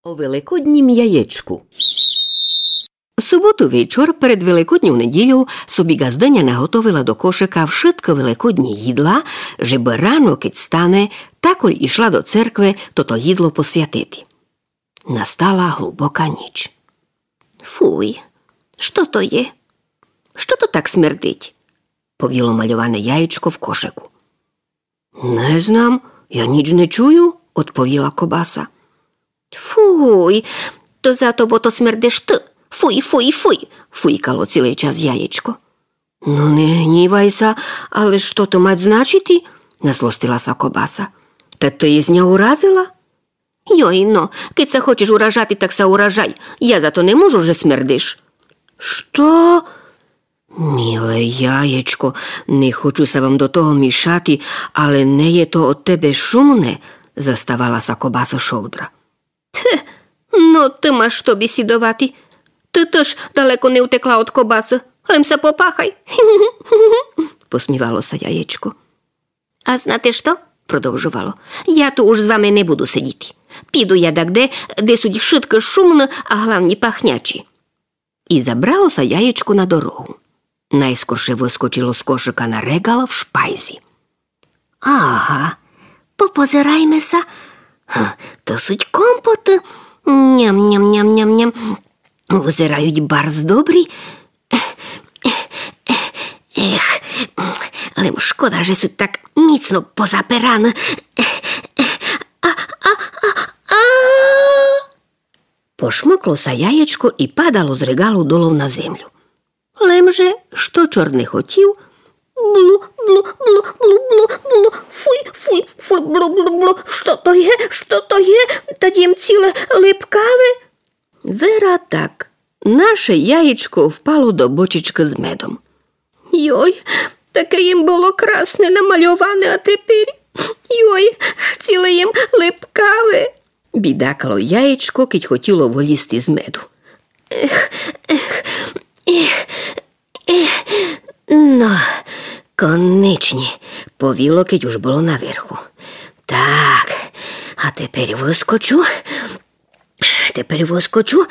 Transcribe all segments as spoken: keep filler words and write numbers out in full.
О великоднім яєчку. Суботу вечор перед Великодньов неділёв собі ґаздыня наготовила до кошыка вшыткы великодні їдла, жебы рано, кедь стане, такой ішла до церкви тото їдло посвятити. Настала глубока ніч. Фуй, што то є? Што то так смердить? Повіло мальоване яєчко в кошыку. Не знам, я ніч не чую, одповіла кобаса. Фуй, то зато, бо то смердиш ты. Фуй, фуй, фуй, фуйкало цілый час яєчко. Но не гнівай ся, але што то мать значити? Назлостила ся кобаса. Та ты єсь ня уразила? Йой, но, кедь ся хочеш уражати, так ся уражай. Я за то не можу, же смердиш. Што? Миле яєчко, не хочу ся вам до того мішати, але не є то од тебе шумне, заставала ся кобаса шовдра. Тьфу, но ты маш што бісідовати. Ты тыж далеко не утекла од кобасы, лем ся попахай. Посмівало ся яєчко. А знате што? Продовжовало. Я ту уж з вами не буду сидіти. Піду я дагде, де суть вшыткы шумны, а главні пахнячі. І забрало ся яєчко на дорогу. Найскорше выскочило з кошыка на реґал в шпайзі. Ага, попозирайме ся. Га, то суть компоты. Ням-ням-ням-ням-ням. Вызирають барз добрі. Ех, лем шкода, же суть так міцно позапираны. А, а, а, а. Пошмыкло ся яєчко і падало з реґалу долов на землю. Лем же, што чорт не хотів, блу, блу, блу, блу, блу, блу, фуй, фуй, фуй, блу, блу, блу, што то є, што то є, та єм ціле липкаве. Вера так, наше яєчко впало до бочечкы з медом. Йой, таке єм было красне намальоване, а тепер, йой, ціле єм липкаве. Бідакало яєчко, кедь хотіло вылізти з меду. Ех, ех, ех, ех. Но, конечні, повіло, кедь уж было наверху. Так, а тепер выскочу. Тепер выскочу.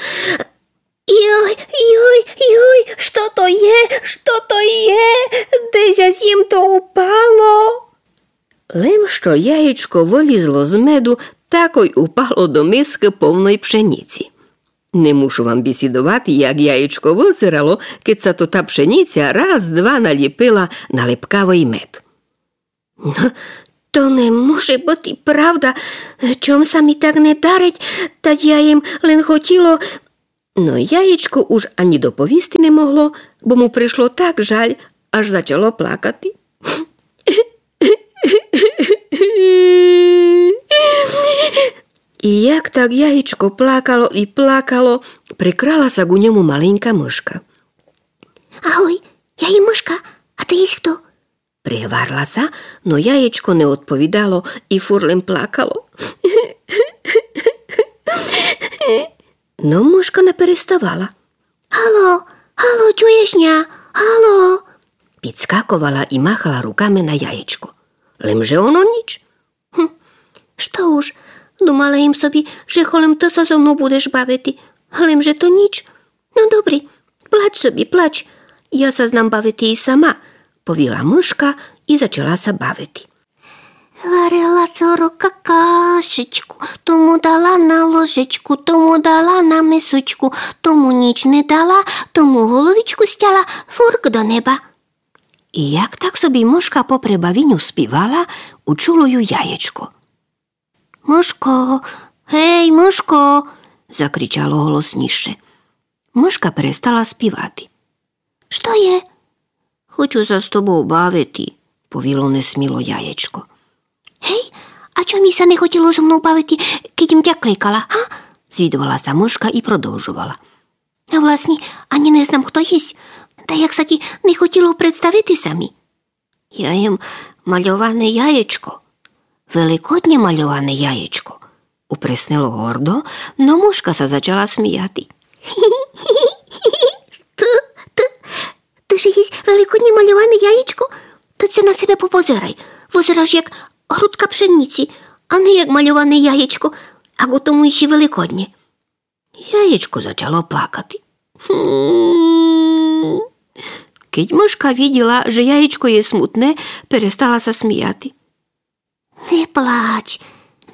Йой, йой, йой, што то є, што то є? Де ся зім то упало? Лем што яєчко вылізло з меду, такой упало до мискы повной пшеніці. Не мушу вам бісідовати, як яєчко вызирало, кедь ся то та пшеніця раз-два наліпила на липкавый мед. Но, то не може быти правда. Чом ся мі так не дарить, та я єм лем хотіло. Но яєчко уж ані доповісти не могло, бо му пришло так жаль, аж зачало плакати. І як так яєчко плакало і плакало, прикрала ся ґу ньому маленька мышка. Агой, я єм мышка, а ты єсь хто? Пригварла ся, но яєчко не одповідало і фурт лем плакало. Но мышка не переставала. Гало, гало, чуєш ня? Гало! Підскаковала і махала руками на яєчко. Лем же оно ніч. Гм, што уж, думала єм собі, же холем ты ся зо мнов будеш бавити. Лем же то ніч. Но добрі, плач собі, плач. Я ся знам бавити і сама, повіла мышка і зачала ся бавити. Варила сорока кашечку, тому дала на ложечку, тому дала на мисочку, тому ніч не дала, тому головічку стяла, фурк до неба. І як так собі мышка попри бавіню співала, учуло ю яєчко. Мышко, гей, мышко, закричало голосніше. Мышка перестала співати. Што є? Хочу ся з тобов бавити, повіло несміло яєчко. Гей, а чом єй ся не хотіло зо мнов бавити, кедь єм тя кликала, га? Звідовала ся мышка і продовжовала. А власні, ані не знам, хто єсь. Та як ся ті не хотіло представити ся мі? Я єм мальоване яєчко. Великоднє мальоване яєчко, упреснило гордо, но мышка ся зачала сміяти. Ты, ты, ты же єсь великоднє мальоване яєчко? Та ся на себе попозирай. Вызираш як грудка пшеніці, а не як мальоване яєчко, а ґу тому іщи великоднє. Яєчко зачало плакати. Хм. Кидь мышка видїла, же яєчко є смутне, перестала ся сміяти. Не плач,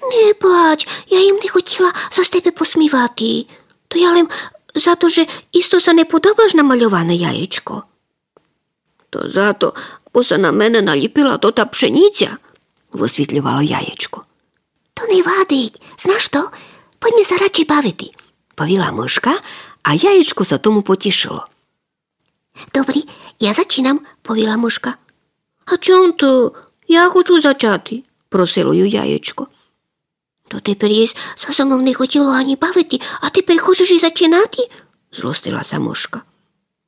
не плач, я им не хотїла ся з тебе посмівати. То я лем за то, же исто ся не подобаш на мальоване яєчко. То за то, бо ся на мене налїпила тота пшенїця, высвітльовало яєчко. То не вадить, знаш што? Пойдьме ся радше бавити, повіла мышка, а яєчко ся тому потїшило. Добрі, я зачинам, повіла мышка. А чом то? Я хочу зачати, просило ю яєчко. То теперь єсь ся зо мнов не хотїло ані бавити, а теперь хочеш и зачинати? Злостила ся мышка.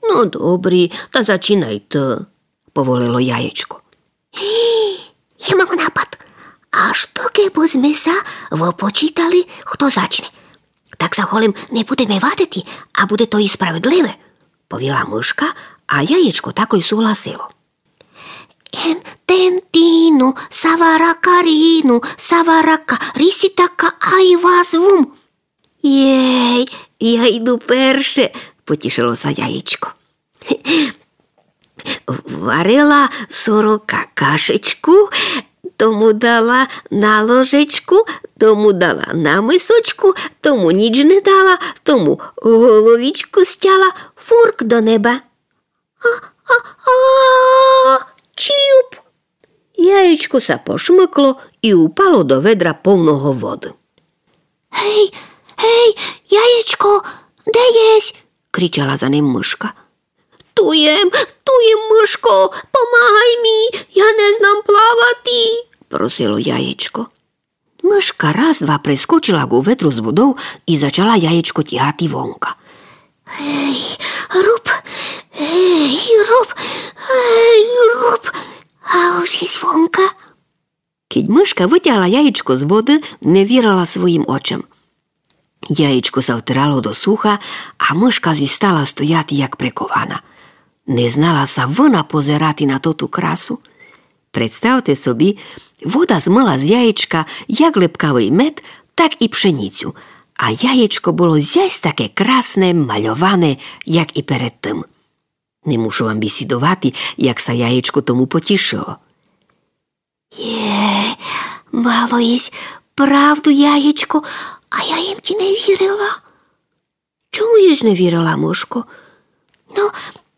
Но добрі, та зачинай ты, поволило яєчко. Я мам напад. А што кебы зме ся выпочитали, хто зачне? Так ся голем не будеме вадити, а буде то и справедливе, повіла мышка, а яєчко такой сугласило. Ен, тен, тину, савара, карину, саварака, риситака, ай вас вум. Єй, я иду перше, потїшило ся яєчко. Варила сорока кашечку, тому дала на ложечку, тому дала на мисочку, тому ніч не дала, тому головічку стяла, фурк до неба. А, а, а, чілюп! Яєчко ся пошмыкло и упало до ведра повного воды. Гей, гей, яєчко, де єсь? Кричала за ним мышка. Ту єм, ту єм, мышко, помагай мі, я не знам плавати, просило яєчко. Мышка раз-два прискочила ку ведру з водов и зачала яєчко тягати вонка. Гей, руб, гей, руб, гей, руб, а уж єсь вонка. Кидь мышка вытягла яєчко з воды, не вірила своїм очам. Яєчко ся втирало до суха, а мышка зістала стояти, як прикована. Не знала ся вона позирати на тоту красу. Представте собі, вода змыла з яєчка як липкавый мед, так и пшенїцю, а яєчко было зясь таке красне, мальоване, як и перед тым. Не мушу вам бісідовати, як ся яєчко тому потїшило. Є, мало єсь правду, яєчко, а я им ті не вірила. Чому єсь не вірила, мышко? Но,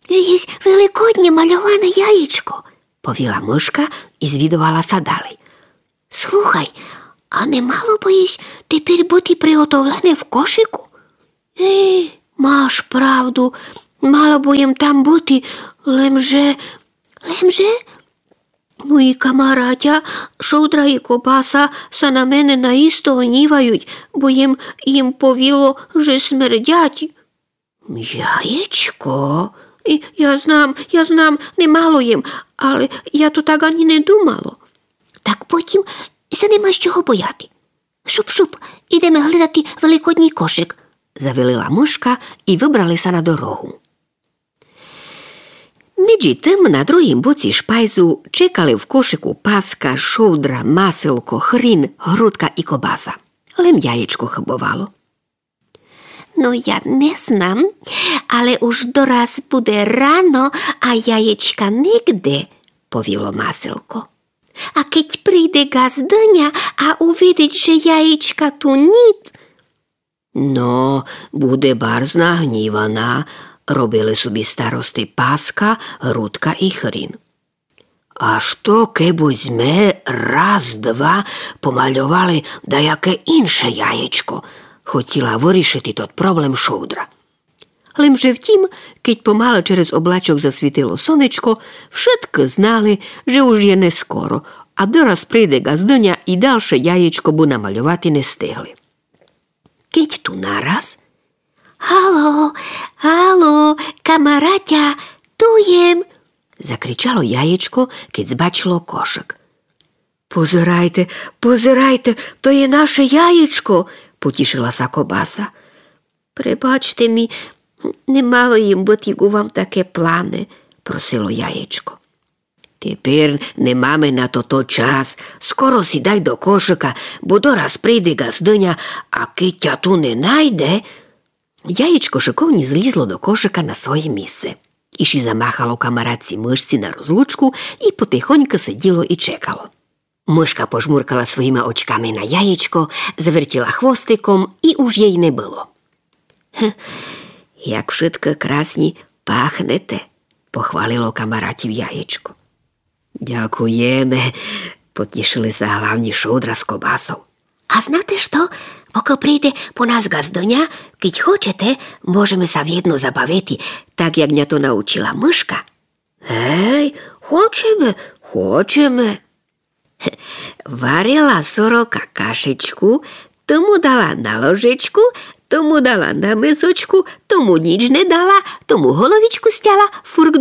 же єсь великоднє мальоване яєчко, повіла мышка и звідовала ся далей. Слухай, а не мало бы єсь теперь быти приготовлене в кошику? Е, маш правду, мало бы єм там быти, лемже, лемже? Мої камаратя, шовдра и кобаса, ся на мене наисто гнївают, бо єм им повіло, же смердять. Яєчко? И я знам, я знам, не мало єм, але я то так ані не думало. Так потім ся нема з чого бояти. Шуп-шуп, идеме гледати великодній кошик, завелила мышка и выбрали ся на дорогу. Меджі тым на другім боці шпайзу чекали в кошику паска, шовдра, маселко, хрін, грудка и кобаса. Лем яєчко хыбовало. Но, я не знам, але уж дораз буде рано, а яєчка нигде, повіло маселко. А кедь прийде ґаздыня, а увидить, же яєчка ту нїт. Но, буде барз нагнївана, робили собі старости паска, грудка и хрін. А што кебы зме раз-два помальовали даяке инше яєчко? Хотїла вырішити тот проблем шовдра. Лемже втім, кедь помалы через облачок засвітило сонечко, вшыткы знали, же уж є нескоро, а дораз прийде ґаздыня и далше яєчко бы намальовати не стигли. Кедь ту нараз: Ало, ало, камаратя, ту єм! Закричало яєчко, кедь збачило кошик. Позирайте, позирайте, то є наше яєчко, потїшила ся кобаса. Пребачте мі, не мало єм быти ку вам таке плане, просило яєчко. Теперь не маме на тото час. Скоро сідай до кошика, бо дораз прийде ґаздыня, а кедь тя ту не найде, Яєчко шыковні злізло до кошыка на своє місце. Іщі замахало камаратці мышці на розлучку і потихоньку сиділо і чекало. Мышка пожмуркала своїма очками на яєчко, завертіла хвостиком і уж єй не было. «Гм, як вшытко красні пахнете», похвалило камаратів яєчко. «Дякуєме», потішыли ся главні шудра з кобасов. «А знате што? Поко прийде по нас ґаздоня, кидь хочете, можеме ся вєдно забавити, так як ня то научила мышка». «Гей, хочеме, хочеме». Варила сорока кашечку, тому дала на ложечку, тому дала на мисочку, тому ніч не дала, тому головичку стяла, фурк